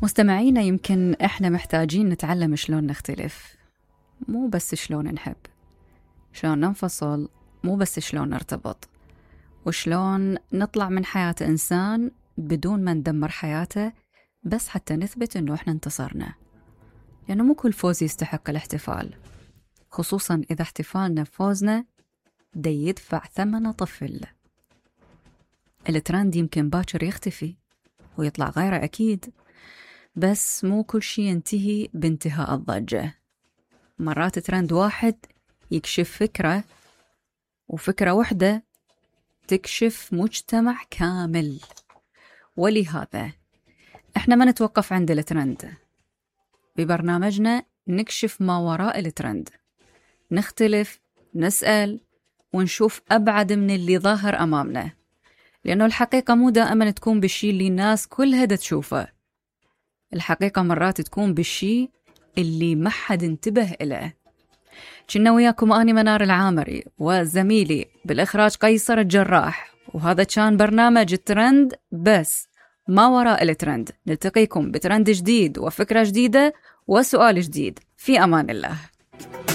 مستمعينا، يمكن إحنا محتاجين نتعلم شلون نختلف، مو بس شلون نحب، شلون ننفصل، مو بس شلون نرتبط، وشلون نطلع من حياة إنسان بدون ما ندمر حياته بس حتى نثبت إنه إحنا انتصرنا. لأنه مو كل فوز يستحق الاحتفال، خصوصا إذا احتفالنا بفوزنا دا يدفع ثمنه طفل. الترند يمكن باكر يختفي ويطلع غيره أكيد، بس مو كل شي ينتهي بانتهاء الضجة. مرات ترند واحد يكشف فكرة، وفكرة واحدة تكشف مجتمع كامل. ولهذا احنا ما نتوقف عند الترند، ببرنامجنا نكشف ما وراء الترند، نختلف، نسأل، ونشوف أبعد من اللي ظاهر أمامنا. لأنه الحقيقة مو دائما تكون بالشي اللي الناس كلها دا تشوفه، الحقيقة مرات تكون بالشي اللي ما حد انتبه إله. كنا وياكم أنا منار العامري وزميلي بالإخراج قيصر الجراح، وهذا كان برنامج الترند بس ما وراء الترند. نلتقيكم بترند جديد وفكرة جديدة وسؤال جديد، في أمان الله.